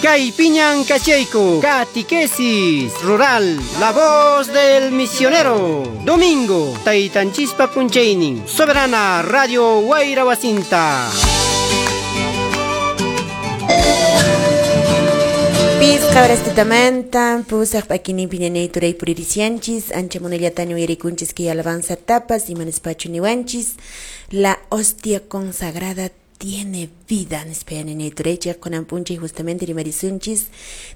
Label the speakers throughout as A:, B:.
A: Kaypiñan kachayku, Catequesis Rural, La Voz del Misionero. Domingo, Taytanchispa punchaynin, Soberana Radio Wayra Wasinta.
B: Pisqa horastitamanta pusaq p'akinin piñanay turay puririsianchis ancha munayllataña uyarikunchis kay alabanza tapas imanispachu niwanchis la hostia consagrada tiene vida nispa yananay turay chay kunan p'unchay justamente rimarisunchis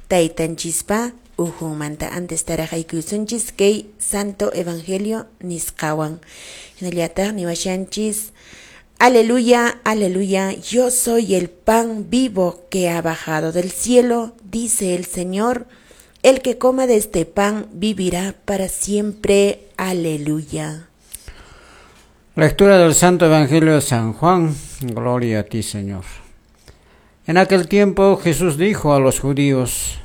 B: taytanchispa uhunmanta antes taraq aykuysunchis kay Santo Evangelio nisqawan hinallataq niwashanchis Aleluya, aleluya, yo soy el pan vivo que ha bajado del cielo, dice el Señor. El que coma de este pan vivirá para siempre. Aleluya.
C: Lectura del Santo Evangelio de San Juan. Gloria a ti, Señor. En aquel tiempo Jesús dijo a los judíos: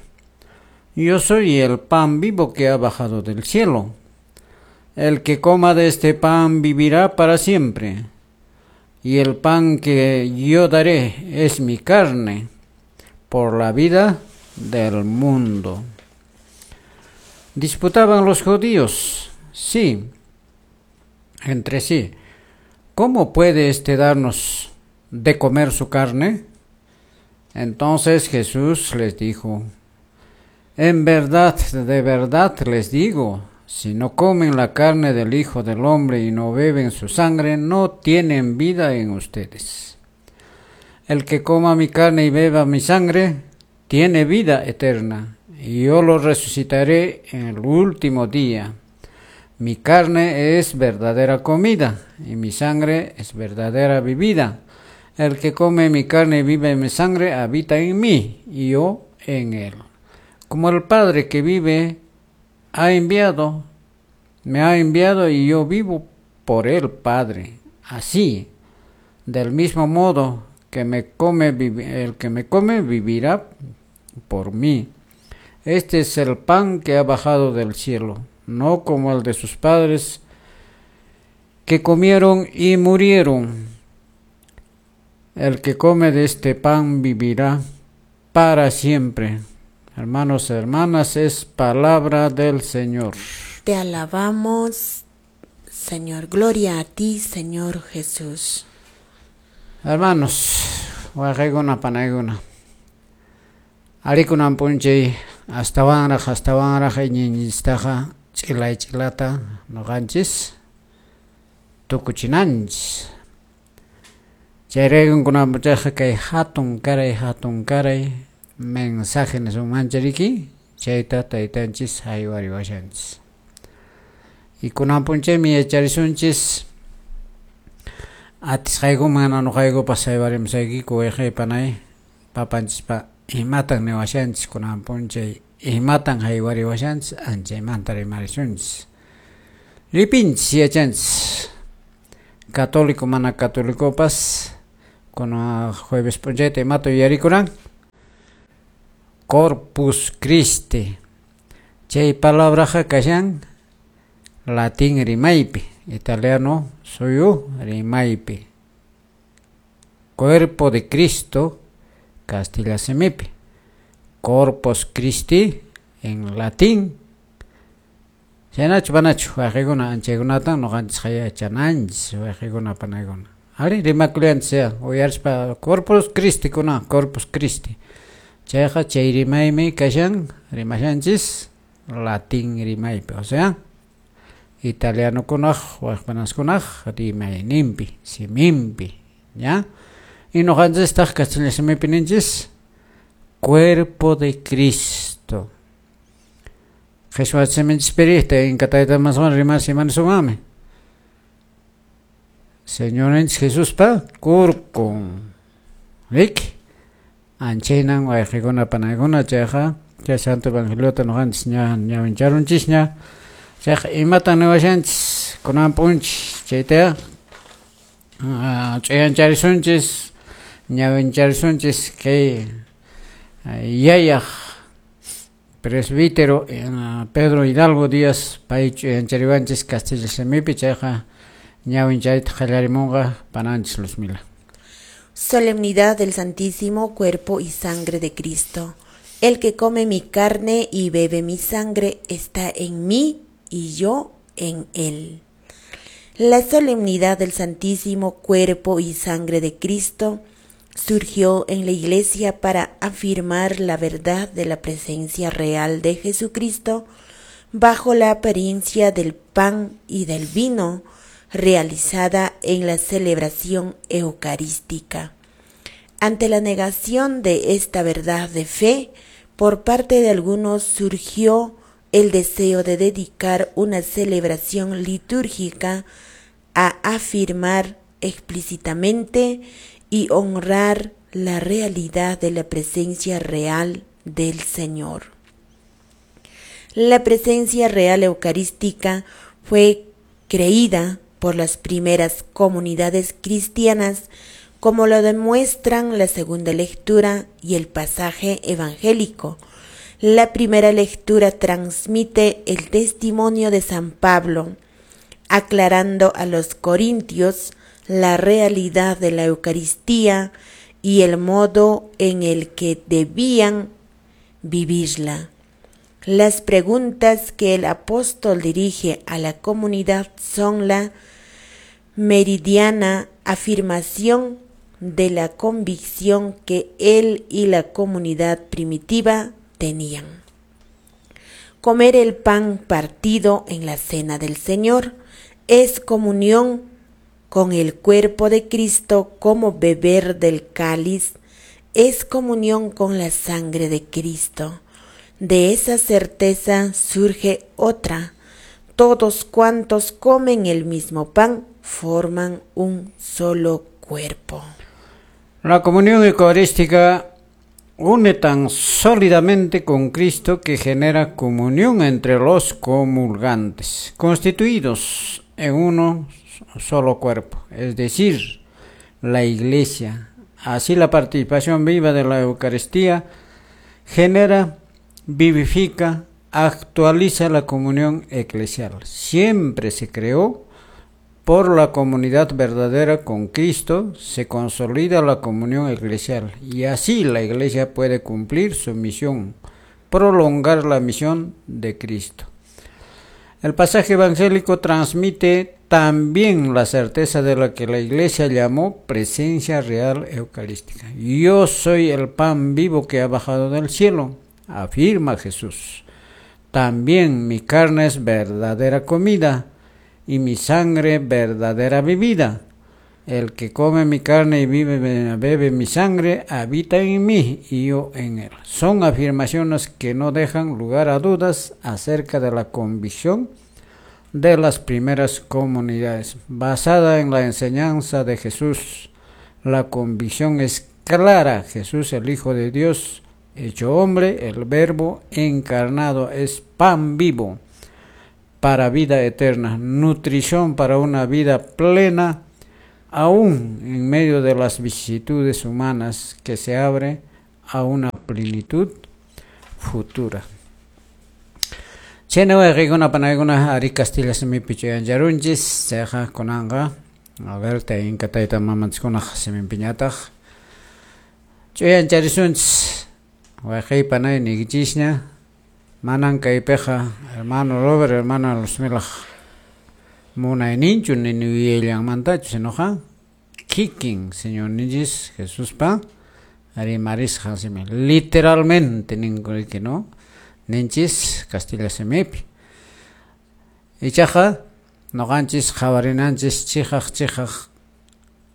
C: Yo soy el pan vivo que ha bajado del cielo. El que coma de este pan vivirá para siempre. Y el pan que yo daré es mi carne por la vida del mundo. Disputaban los judíos, sí, entre sí: ¿cómo puede éste darnos de comer su carne? Entonces Jesús les dijo: En verdad, de verdad les digo, si no comen la carne del Hijo del Hombre y no beben su sangre, no tienen vida en ustedes. El que coma mi carne y beba mi sangre, tiene vida eterna, y yo lo resucitaré en el último día. Mi carne es verdadera comida, y mi sangre es verdadera bebida. El que come mi carne y bebe mi sangre, habita en mí, y yo en él. Como el Padre que vive ha enviado, me ha enviado y yo vivo por el Padre. Así, del mismo modo que me come, el que me come vivirá por mí. Este es el pan que ha bajado del cielo, no como el de sus padres que comieron y murieron. El que come de este pan vivirá para siempre. Hermanos y hermanas, es palabra del Señor.
B: Te alabamos, Señor. Gloria a ti, Señor Jesús.
C: Hermanos, waqaykuna panaykuna, arikunan p'unchay astawanraq astawanraq iñiyninchistaqa ch'ilay ch'ilata nuqanchis tukuchinanchis. Chayraykun kunan p'unchayqa kay hatun karay mensaje nisunmancha riki chayta taytanchis haywariwashanchis. Y kunan p'unchaymi yacharisunchis atisqaykuman nuqaykupas haywarimusaykiku wayqay panay papanchispa imatan niwashanchis kunan p'unchay imatan haywariwashanchis anchaymanta rimarisunchis. Ripinchis yachanchis católico mana católicopas kunan jueves p'unchayta imata yuyarikuran Corpus Christi. Chay palabraqa kashan latín rimaypi, italiano suyu rimaypi. Cuerpo de Cristo, castilla simipi. Corpus Christi en latín. Chaynachu panachu waqaykuna anchaykunatan nuqanchis yachananchis waqaykuna panaykuna. Ari rimakulianchis ya uyarispa Corpus Christi kuna Corpus Christi. Chayqa chay rimaymi kashan rimashanchis latín rimaypi, o sea italianokunaq waqpanaskunaq rimayninpi siminpi, ya. Y nuqanchistaq kastilla simipi ninchis cuerpo de Cristo. Qhichwa siminchispiri inka taytamaswan rimas imanisumanmi Señorinchis Jesuspa kurkun riki. Anchaynan wayqikuna panaykuna chayqa chay Santo Evangeliota nuqanchis ña ñawincharunchisña chayqa imatan niwashanchis kunan p'unchay chayta ch'uyancharisunchis ñawincharisunchis kay yayaq presbítero Pedro Hidalgo Díaz pay ch'uyanchariwanchis castilla simipi chayqa ñawincharita qallarimunqa pananchis Luzmila.
B: Solemnidad del Santísimo Cuerpo y Sangre de Cristo. El que come mi carne y bebe mi sangre está en mí y yo en él. La solemnidad del Santísimo Cuerpo y Sangre de Cristo surgió en la Iglesia para afirmar la verdad de la presencia real de Jesucristo bajo la apariencia del pan y del vino realizada en la celebración eucarística. Ante la negación de esta verdad de fe, por parte de algunos surgió el deseo de dedicar una celebración litúrgica a afirmar explícitamente y honrar la realidad de la presencia real del Señor. La presencia real eucarística fue creída por las primeras comunidades cristianas, como lo demuestran la segunda lectura y el pasaje evangélico. La primera lectura transmite el testimonio de San Pablo, aclarando a los corintios la realidad de la Eucaristía y el modo en el que debían vivirla. Las preguntas que el apóstol dirige a la comunidad son la meridiana afirmación de la convicción que él y la comunidad primitiva tenían. Comer el pan partido en la cena del Señor es comunión con el cuerpo de Cristo, como beber del cáliz es comunión con la sangre de Cristo. De esa certeza surge otra. Todos cuantos comen el mismo pan forman un solo cuerpo.
C: La comunión eucarística une tan sólidamente con Cristo que genera comunión entre los comulgantes, constituidos en uno solo cuerpo, es decir, la Iglesia. Así la participación viva de la Eucaristía genera, vivifica, actualiza la comunión eclesial. Siempre se creó por la comunidad verdadera con Cristo, se consolida la comunión eclesial y así la Iglesia puede cumplir su misión, prolongar la misión de Cristo. El pasaje evangélico transmite también la certeza de lo que la Iglesia llamó presencia real eucarística. Yo soy el pan vivo que ha bajado del cielo, afirma Jesús. También mi carne es verdadera comida y mi sangre verdadera bebida. El que come mi carne y bebe mi sangre, habita en mí y yo en él. Son afirmaciones que no dejan lugar a dudas acerca de la convicción de las primeras comunidades. Basada en la enseñanza de Jesús, la convicción es clara. Jesús, el Hijo de Dios, hecho hombre, el Verbo encarnado, es pan vivo para vida eterna, nutrición para una vida plena, aún en medio de las vicisitudes humanas que se abre a una plenitud futura. Chena wayqikuna panaykuna ari Castilla simipi ch'uyancharunchis, chayqa kunanqa a ver inka tayta mamanchikkunaq siminpiñataq ch'uyancharisunchis. Wayqiy panay niykichisña, manan kaypiqa hermano Robert, hermana Luzmilaq munayninchu ni yuyayllamantachu, sinoqa kikin Señorninchis Jesuspa rimarisqan simi, literalmente ninku riki, no? Ninchis Castilla simipi. Ichaqa noqanchis qhawarinanchis chiqaq chiqaq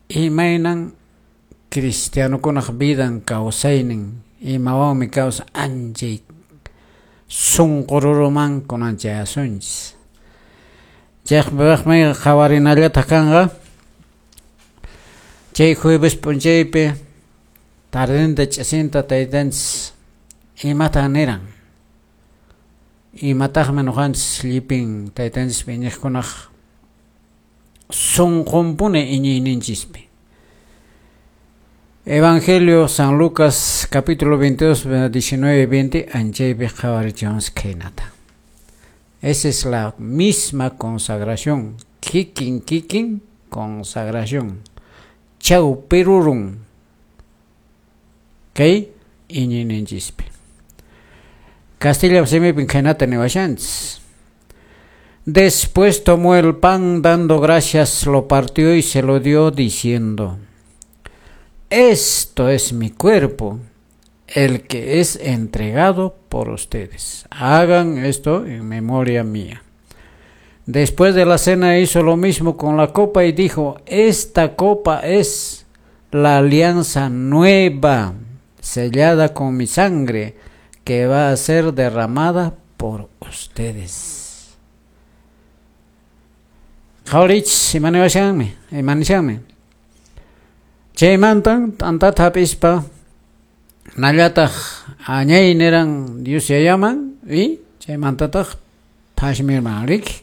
C: imaynan cristianokunaq vidan kawsaynin, imawanmi kawsan anchay sunqururuman kunan chayasunchis. Chaypaqmi qhawarinallataq kanqa chay jueves p'unchaypi tardenta ch'isinta taytanchis imatan niran, imataqmi noqanchis llipin taytanchispi iñiqkunaq sunqunpuni iñiyninchispi. Evangelio San Lucas capítulo 22, 19 y 20, anchaypi qhawarichiwanchis khaynata. Esa es la misma consagración, kikin kikin consagración, chawpirurun kay iñiyninchispi. Castilla simipin khaynata niwashanchis. Después tomó el pan, dando gracias, lo partió y se lo dio, diciendo: Esto es mi cuerpo, el que es entregado por ustedes. Hagan esto en memoria mía. Después de la cena hizo lo mismo con la copa y dijo: Esta copa es la alianza nueva, sellada con mi sangre, que va a ser derramada por ustedes. Qhawariychis, imaniwashanmi, imanishanmi. Chaymantan t'antata hap'ispa nallataq añay niran Dios yayaman y chaymantataq phashmirman riki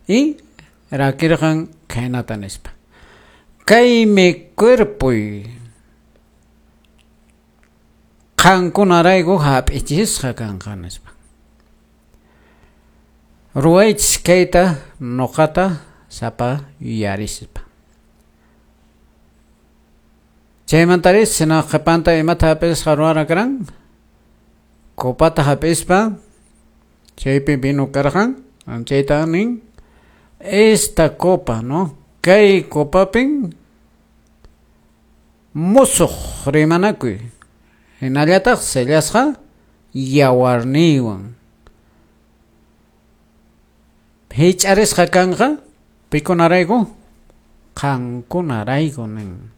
C: y rakirqan khaynata nispa: Kaymi cuerpoy qankunarayku hap'ichisqa kanqa nispa. Ruwaychis kayta nuqata sapa yuyarispa. Chaymantaris sina qhipanta imata hap'isqa ruwara karan? Copata hap'ispa chaypi vino karqan, chayta nin esta copa, ¿no? Kay copapin musuq rimanakuy hinallataq sellasqa yawarniywan hich'arisqa kanqa pikunarayku qankunarayku nin.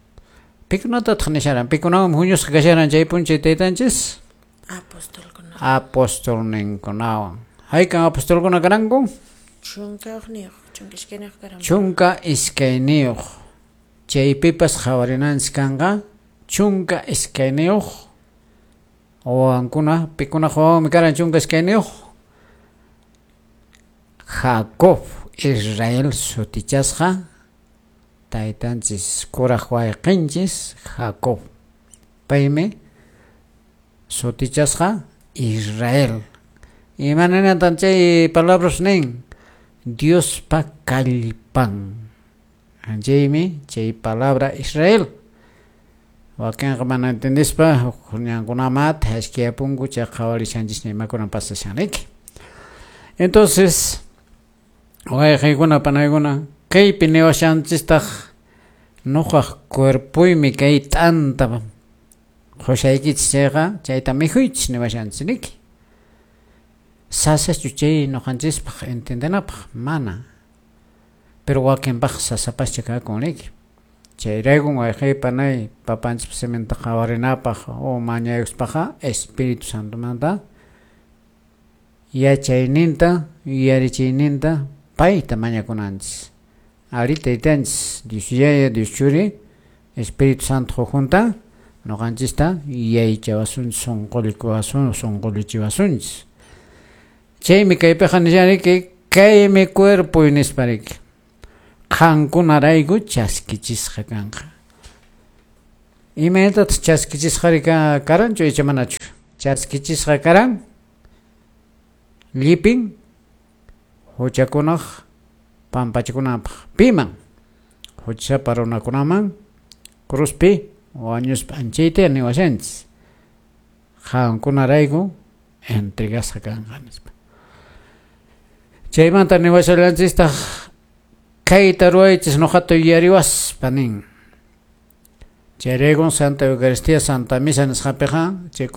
C: Pikunatataq nisharan? Pikunawan huñusqa kasharan chay p'unchay taytanchis?
B: Apostolkunawan.
C: Apostolninkunawan. Haykan apostolkuna karanku?
B: 11 12 karan.
C: 12. Chaypipas qhawarinanchis kanqa 12 wawankuna. Pikunaq wawanmi karan 12? Jacob, Israel sutichasqa taytanchis kuraq wayqinchis Jacob. Paymi sutichasqa Israel. Imaninatan chay palabras nin? Diospa kallpan. Chaymi chay palabra Israel. Wakinqa mana entendispa huk ñankunamata hashkiyapunku chay qhawarishanchisña imakuna pasashan riki. Entonces, wayqiykuna panaykuna, kaypi niwashanchistaq nuqaq cuerpoymi kay t'anta qushaykichis chayqa chayta mikhuychis niwashanchis riki. Sasachu chay nuqanchispaq entendenapaq? Mana. Pero wakinpaq sasapascha kakun riki. Chayraykun wayqiy panay papanchispa siminta qhawarinapaq o mañaykuspaqa Espíritu Santomanta yachayninta yuyarichiyninta payta mañakunanchis. Ari taytanchis Dios Yaya, Dios Churi, Espíritu Santo junta nuqanchista yuyaychawasunchis, sunqullikuwasun, sunqullichiwasunchis. Chaymi kaypiqa nishanriki kaymi cuerpoy nispa riki. Qankunarayku chaskichisqa kanqa. Imaynatataq chaskichisqari karanchu icha manachu? Chaskichisqa karan llipin huchakunaq pampachikunanpaq. Piman? Huchasapa runakunaman cruzpi wañuspa anchayta niwashanchis. Qankunarayku entregasqa kanqa nispa. Chaymanta niwashallanchistaq kayta ruwaychis nuqata yuyariwaspa nin. Chayraykun Santa Eucaristía, Santa Misa nisqapiqa chay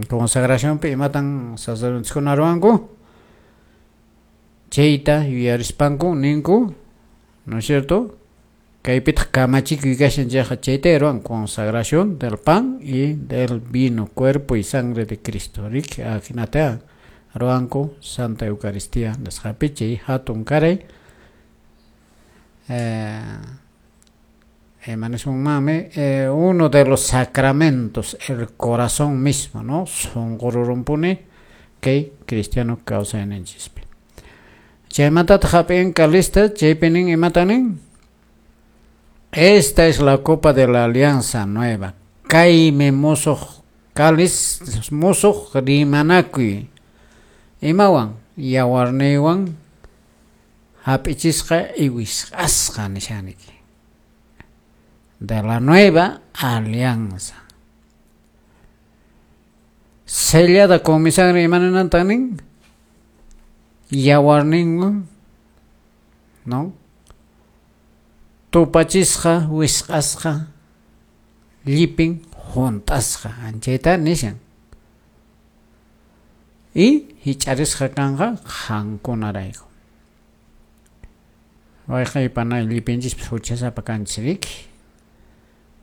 C: consagracionpi imatan sacerdotekuna ruwanku? Chayta yuyarispanku ninku, ¿no es cierto? Kaypitaq kamachikuy kashan chayqa chayta ruwan consagración del pan y del vino, cuerpo y sangre de Cristo. Riki ajinata ruwanku Santa Eucaristía nisqapi chay hatun karay uno de los sacramentos, el corazón mismo, ¿no? Sunqururumpuni kay cristiano kawsayninchispi. Chaymantataq hap'in kalista, chaypi nin imata nin? Esta es la copa de la alianza nueva. Kaymi musuq cáliz, musuq rimanakuy. Imawan? Yawarniywan hap'ichisqa iwisqasqa nishaniki. De la nueva alianza. Sellada con mi sangre imaninantan nin? Yawarninwan, ¿no? Tupachisqa, wisq'asqa, llipin hunt'asqa, anchayta nishan. Y hich'arisqa kanqa qankunarayku. Wayqay panay llipinchispas huchasapa kanchis riki.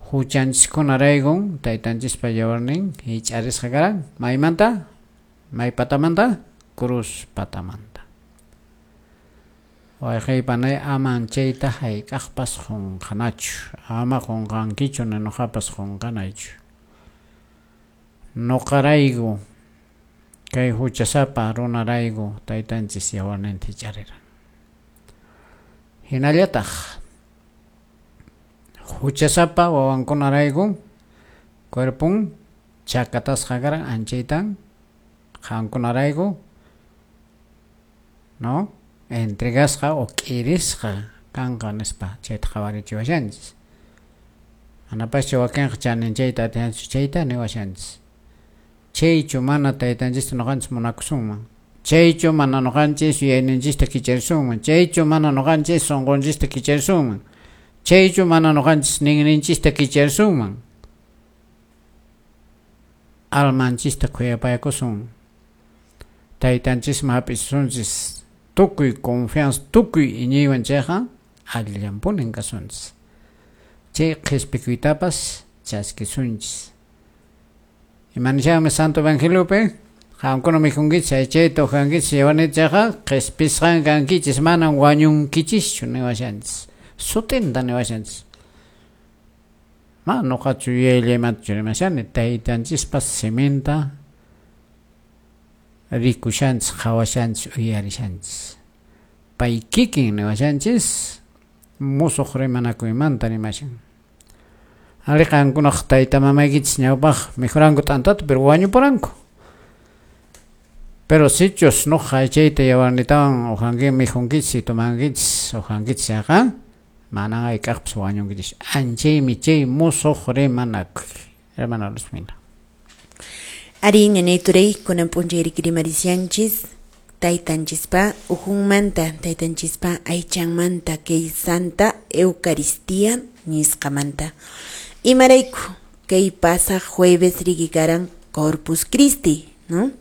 C: Huchanchiskunaraykun taytanchispa yawarnin hich'arisqa karan. Maymanta? May patamanta? Cruz patamanta. Wayqay panay aman chayta hayk'aqpas qunqanachu. Ama qunqankichu ni nuqapas qunqanaychu. Nuqarayku kay huchasapa runarayku taytanchis yawarninta hich'ariran. Hinallataq huchasapa wawankunarayku cuerpon chakatasqa karan anchaytan qankunarayku, ¿no? Entregasqa o k'irisqa kanqa nispa chayta qhawarichiwashanchis. Manapaschu wakinqa chaninchayta atinchu chayta niwashanchis. Chaychu mana taytanchista nuqanchis munakusunman. Chaychu mana nuqanchis yuyayninchista kicharisunman. Chaychu mana nuqanchis sunqunchista kicharisunman. Chaychu mana nuqanchis ninninchista kicharisunman. Almanchista khuyapayakusun. Taytanchisman hap'isunchis tukuy confianza, tukuy iñiywan chayqa allillanpunin kasunchis. Chay qhispikuytapas chaskisunchis. Imanishanmi Santo Evangeliopi? Qamkuna mikhunkichis, aychayta uhankichis, yawarniyta chayqa qhispisqan kankichis, manan wañunkichischu niwashanchis. Sutinta niwashanchis. Ma nuqachu yuyayllaymanta rimashani, taytanchispas siminta rikushanchis, qhawashanchis, uyarishanchis. Pay kikin niwashanchis, musuq rimanakuymanta rimashan. Ari qankunaq tayta mamaykichis ñawpaq mikhuranku t'antata, pero wañupuranku. Pero sichus nuqa aychayta yawarnitawan uhanki mikhunkichis, tomankichis, uhankichis chayqa, manan hayk'aqpas wañunkichis. Anchaymi chay musuq rimanakuy. Hermana Luzmila.
B: Ari ñanay turay kunan p'unchay rimarishanchis taytanchispa ujunmanta, taytanchispa aychanmanta kay Santa Eucaristía nisqamanta. Imarayku kay pasaq jueves riki karan Corpus Christi, ¿no?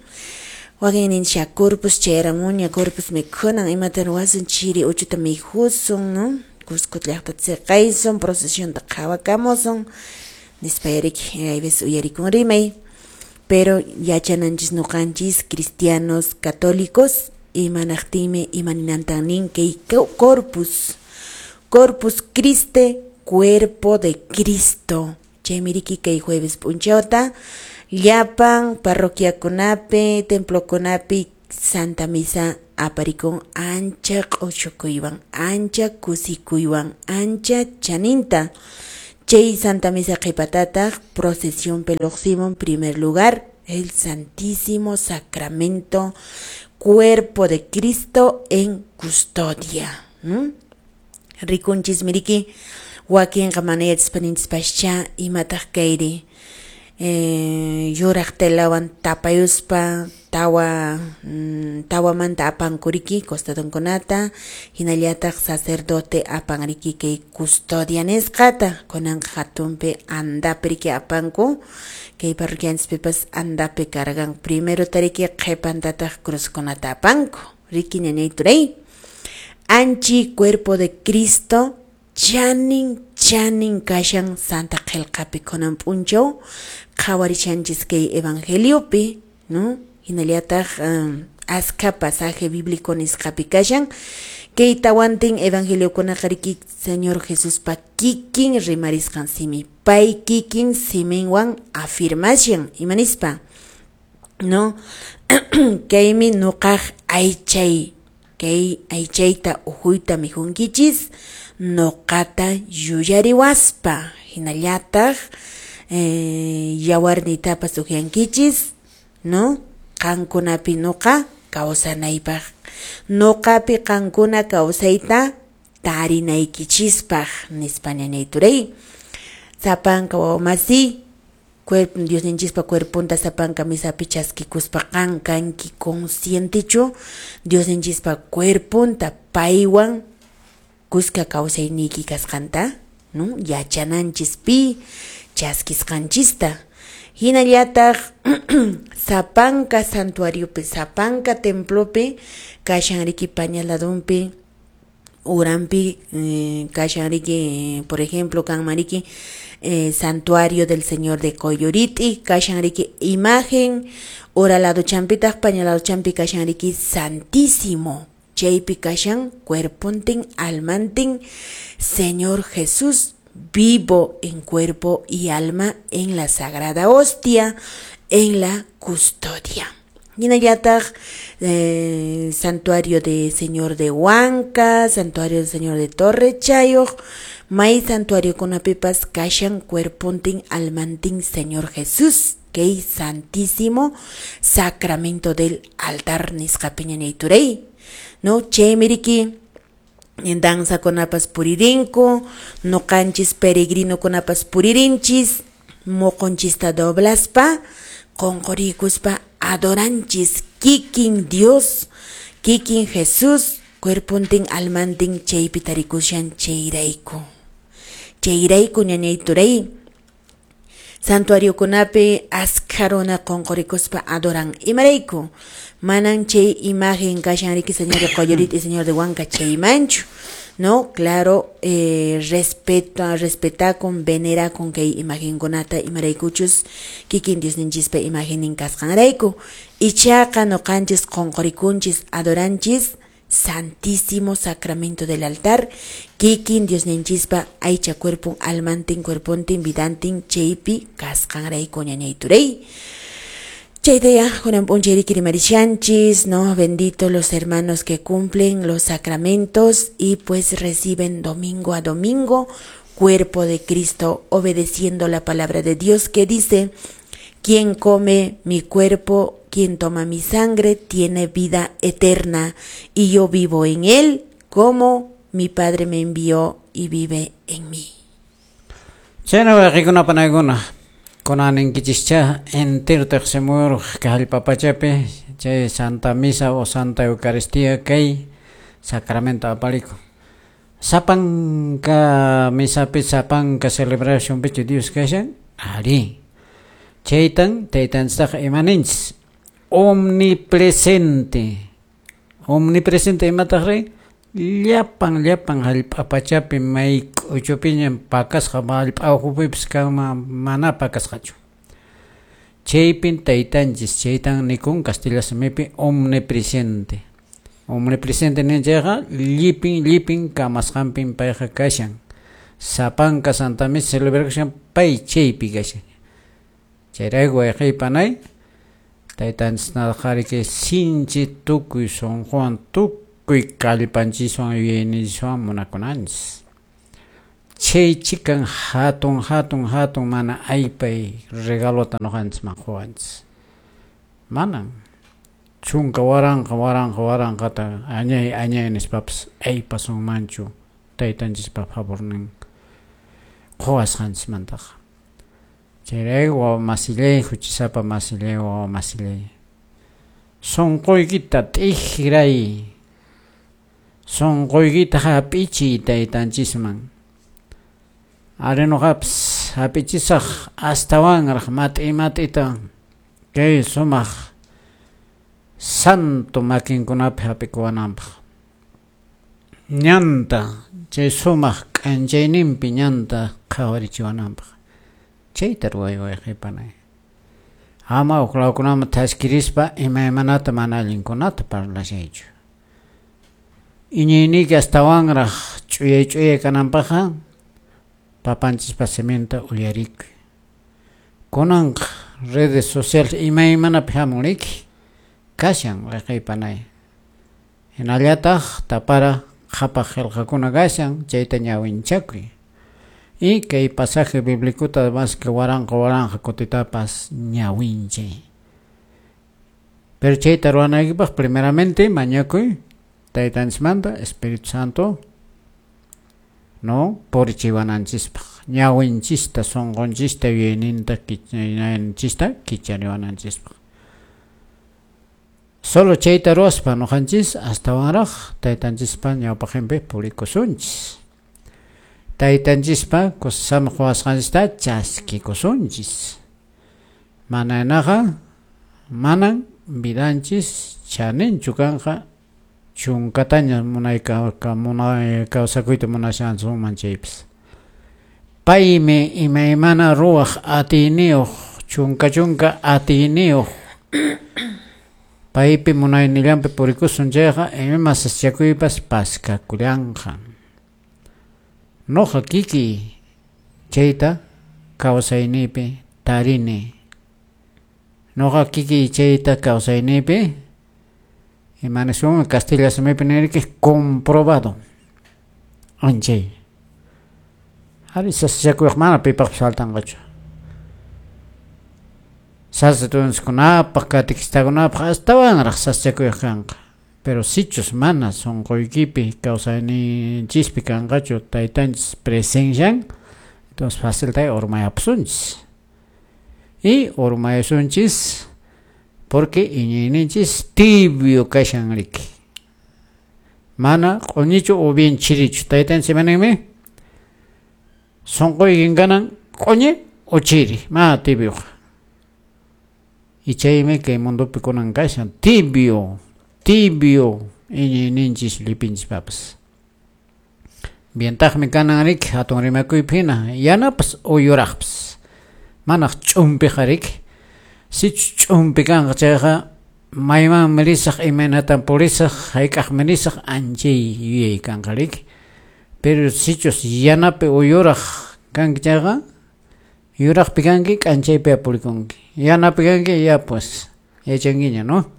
B: Wakin ninsha Corpus chayaramuña, Corpus mikhunan, imata ruwasun, chiri uchuta mikhusun, ¿no? Cusco llaqtata siqaysun, procesionta qhawakamusun, nispa yariki, hay veces uyarikun rimay. Pero yachananchis nuqanchis cristianos católicos imanaqtinmi imaninantan nin kay Corpus, Corpus Christi, cuerpo de Cristo. Chaymi riki kay jueves p'unchawta llapan parroquiakunapi, templokunapi Santa Misa aparikun ancha q'ushukuywan, ancha kusikuywan, ancha chaninta. Chay Santa Misa qhipatataq procesión lluqsimun primer lugar el Santísimo Sacramento, cuerpo de Cristo en custodia. Rikunchis miriki wakinqa mana yachaspa ninchispascha imataq kayri yuraq telawan tapayuspa tawamanta apankuriki costadonkunata, hinallataq sacerdote apanriki kay custodia nisqata, kunanqa hatunpi andapi riki apanku, kay parroquianchispipas andapi cargan primero tariki qhipantataq cruzkunata apanku, riki ñañay turay. Anchi cuerpo de Cristo chanin chanin kashan Santa Qillqapi kunan p'unchaw qhawarishanchis kay evangeliopi, ¿no? Hinallataq askha pasaje bíblico nisqapi kashan kay tawantin evangeliokunaqa riki Señor Jesuspa kikin rimarisqan simi, pay kikin siminwan afirmashan imanispa, ¿no? Kaymi nuqaq aychay, kay aychayta ujuyta mikhunkichis nuqata yuyariwaspa, hinallataq yawarnitapas uhiankichis, ¿no? Qankunapi nuqa kawsanaypaq, nuqapi qankuna kawsayta tarinaykichispaq nispa ñañay turay. Sapanka wawamasi Diosninchispa cuerponta sapanka misapi chaskikuspa qan kanki conscientechu Diosninchispa cuerponta paywan kuska kawsayniyki kasqanta, no? Yachananchis pi chaskisqanchista. Hinallataq sapanka santuariopi, sapanka templopi kashan riki paña ladunpi, uranpi kashan riki, por ejemplo, kanman riki santuario del Señor de Coyoriti, kashan riki imagen, ura lado champitaq paña lado champi kashan riki Santísimo, chaypi kashan cuerpontin almantin Señor Jesús vivo en cuerpo y alma en la sagrada hostia, en la custodia. Hinallataq santuario de Señor de Huanca, santuario del Señor de Torre Chayoq, may santuario kunapipas kashan cuerpontin almantin Señor Jesús, kay santísimo sacramento del altar nisqapi ñañayturay, no? Chaymi riki danza kunapas puririnku, noqanchis peregrino kunapas puririnchis, moqonchista doblaspa, qonqorikuspa adoranchis kikin Dios, kikin Jesús, cuerpontin almantin chaypi tarikushan chayrayku. Chayrayku ñañayturay, santuario kunapi askha runa qonqorikuspa adoran. Imarayku, manan chay imagen kashan riki Señor de Coyoriti y Señor de Huanca chaymanchu, no? Claro, respetakun, venerakun kay imagenkunata, imaraykuchus kikin Diosninchispa imagenin kasqanrayku. Ichaqa noqanchis qonqorikunchis, adoranchis Santísimo Sacramento del altar, kikin Diosninchispa aycha cuerpon, almantin, cuerpontin, vidantin, chaypi kasqanrayku ñañayturay. Chaytaya, kunan p'unchay riki rimarishanchis, ¿no? Bendito los hermanos que cumplen los sacramentos y pues reciben domingo a domingo cuerpo de Cristo, obedeciendo la palabra de Dios que dice: quien come mi cuerpo, quien toma mi sangre, tiene vida eterna, y yo vivo en él, como mi Padre me envió y vive en mí.
C: Chayna wayqikuna panaykuna, kunaninkichishcha entero teqsimuyuruq kay hallp'a pachapi chay Santa Misa o Santa Eucaristía kay sacramento apalikun. Sapanka misapi, sapanka celebracionpichu Dios kashan? Ari. Chaytan taytanchistaqa imaninchis? Omnipresente. Omnipresente imataq rin? Llapan llapan hallp'a pachapi may k'uchupiña pakasqa hallp'a ukhupipis kanman mana pakasqachu. Chaypin taytanchis, chaytan nikun kastilla simipi omnipresente. Omnipresente nin chayqa llipin llipin kamasqanpin payqa kashan. Sapanka Santa Misa celebración pay chaypi kashan. Chayrayku wayqiy panay, taytanchisnataqa riki sinchi tukuy sunquwan, tukuy kallpanchiswan, yuyayninchiswan munakunanchis. Chay chikan hatun hatun hatun mana aypay regalota noqanchisman quwanchis. Manan chunka waranqa waranqa waranqata añay añay nispapas aypasunmanchu taytanchispa favornin quwasqanchismantaqa. Chayrayku wawa masillay, huchisapa masillay, wawa masillay, sunquykita t'ikray, sunquykita hap'ichiy taytanchisman. Ari noqapas hap'ichisaq astawanraq mat'i mat'ita kay sumaq santo makinkunapi hap'ikuwananpaq. Ñanta chay sumaq k'anchayninpi ñanta qhawarichiwananpaq. Chayta ruway wayqipanay. Ama uqlawkunaman thaskirispa imaymanata mana allinkunata parlashaychu. Iñiyniyki astawanraq ch'uyay ch'uyay kananpaqqa papanchispa siminta uyarikuy. Kunanqa redes sociales imaymanapi hamun riki kashan wayqiypanay. Hinallataq tapara qhapaq qillqakuna kashan chayta ñawinchakuy. Y kay pasaje bíblico más que waranqa waranqa kutitapas ñawinchay. Pero chayta ruwanaykipaq primeramente mañakuy taytanchismanta Espíritu Santo no purichiwananchispaq, ñawinchista, sunqunchista, yuyayninta, yuyayninchista kichariwananchispaq. Solo chayta ruwaspa nuqanchis astawanraq taytanchispa ñawpaqinpi purikusunchis. Taytanchispa kusama quwasqanchista chaskikusunchis. Mananaqa manan vidanchis chaninchu kanqa chunkataña munay kawsakuyta munashansunman chaypis. Paymi imaymana ruwaq atiyniyuq, chunka chunka atiyniyuq. Paypi munaynillanpi purikusun chayqa ima sasachakuypas paskakullanqa. Noqa kikiy chayta kawsayniypi tarini. Noqa kikiy chayta kawsayniypi imanisun castilla simipi nirki comprobado. Anchay. Ari sasachakuyqa mana pipaqpas faltanqachu. Sacerdotekunapaq, catequistakunapaq astawanraq sasachakuyqa kanqa. Pero sichus mana sunquykipi kawsayninchispi kanqachu taytanchis presencian, entonces facilta urmayapusunchis. Y urmayasunchis porque iñiyninchis tibio kashan riki. Mana q'uñichu o bien chirichu. Taytanchis imaninmi sunquykin kanan q'uñi o chiri, mana tibioqa. Y chaymi kay mundopi kunan kashan tibio, tibio iñiyninchis llipinchispapas. Bientaqmi kanan riki hatun rimakuypi hina yanapas o yuraqpas. Manaq ch'umpiqa riki. Sichus ch'umpi kanqa chayqa maymanmi risaq, imaynatan purisaq, hayk'aqmi risaq, anchay yuyay kanqa riki. Pero sichus yanapi o yuraq kanki chayqa yuraqpi kanki k'anchaypi purikunki. Yanapi kanki ya pues yachankiña, ¿no?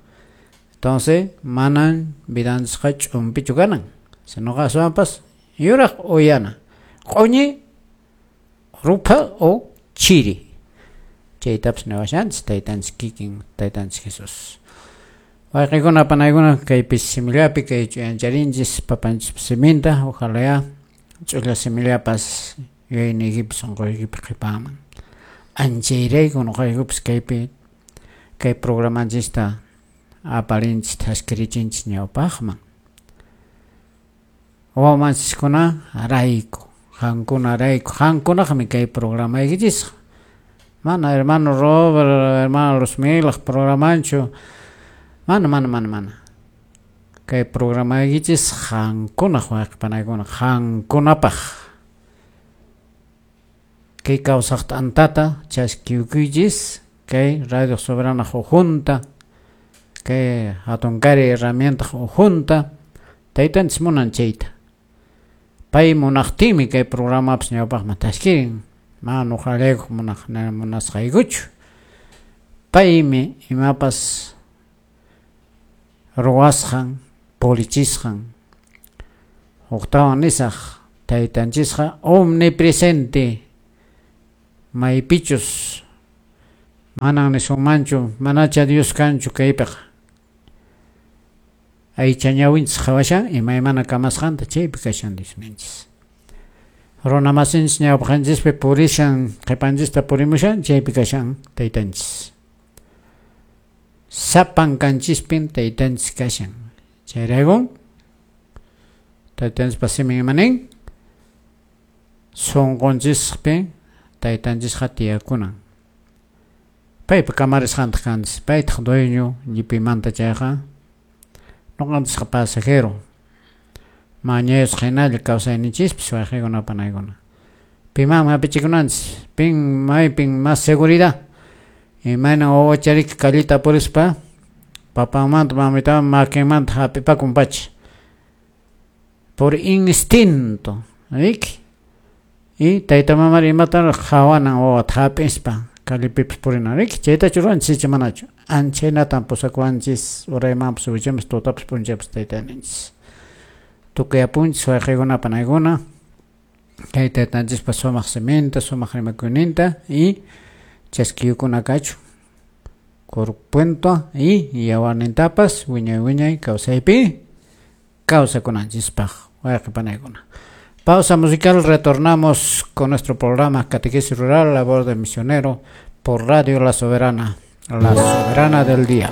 C: Entonces manan vidanchisqa ch'umpichu kanan, sinoqa aswanpas yuraq o yana, q'uñi, rupha o chiri. Chaytapas niwashanchis taytanchis kikin, taytanchis Jesús. Wayqikuna panaykuna kaypi simillapi kay ch'uyancharinchis papanchispa siminta, ojalá ch'ulla simillapas yuyayniykipi sunquykipi qhipaman. Anchayrayku nuqaykupas kaypi kay programanchista aparinchis thaskirichinchis ñawpaqman. Wawanchiskuna rayku, qankuna rayku, qankunaqmi kay programaykichis. Mana hermano Robert, hermano Luzmilaq programanchu. Mana, mana, mana, mana. Kay programaykichis qankunaq wayqipanaykuna, qankunapaq. Kay kawsaq t'antata chaskiyukuychis, kay Radio Soberana ujunta, kay hatunkari herramienta ujunta, taytanchis munan chayta. Pay munaqtinmi kay programapas ñawpaqman thaskirin. Mana nuqallaykuq munasqaykuchu. Paymi imapas ruwasqan, pulichisqan. Huktawan nisaq taytanchisqa omnipresente, maypichus manan nisunmanchu, manacha Dios kanchu kaypiqa. Aycha ñawinchis qhawashan imaymana kamasqanta chaypi kashan Diosninchis. Runa masinchis ñawpaqanchispi purishan, qhipanchista purimushan, chaypi kashan taytanchis. Sapankanchispin taytanchis kashan. Chayrayku taytanchispa simin imanin sunqunchispi taytanchisqa tiyakunan. Paypa kamarisqantaq kanchis, paytaq dueño llipimanta chayqa nuqanchisqa pasajero. Mañayusqa hinalla kawsayninchispis wayqikuna panaykuna. Pimanmi hapichikunanchis, pin maypin más seguridad. Imaynan wawachariki callita purispa papanmanta mamitawan makinmanta hap'ipakun pacha. Por instinto, riki. Y tayta mamari imatan qhawanan wawata hap'ispa callepipas purinan, riki. Chaytachu ruwanchis icha manachu. Anchaynatan pusakuwanchis uraymanpas wichaymanpas tutapas p'unchaypas taytaninchis. Tukuyapunchis wayqikuna panaykuna kay taytanchispa sumaq siminta, sumaq rimakuyninta y chaskiyukuna kachu kurpunta y yawarnintapas wiñay wiñay kawsaypi kawsakunanchispaq wayqi panaykuna. Pausa musical, retornamos con nuestro programa Catequesis Rural, La Voz del Misionero, por Radio La Soberana, la soberana del día.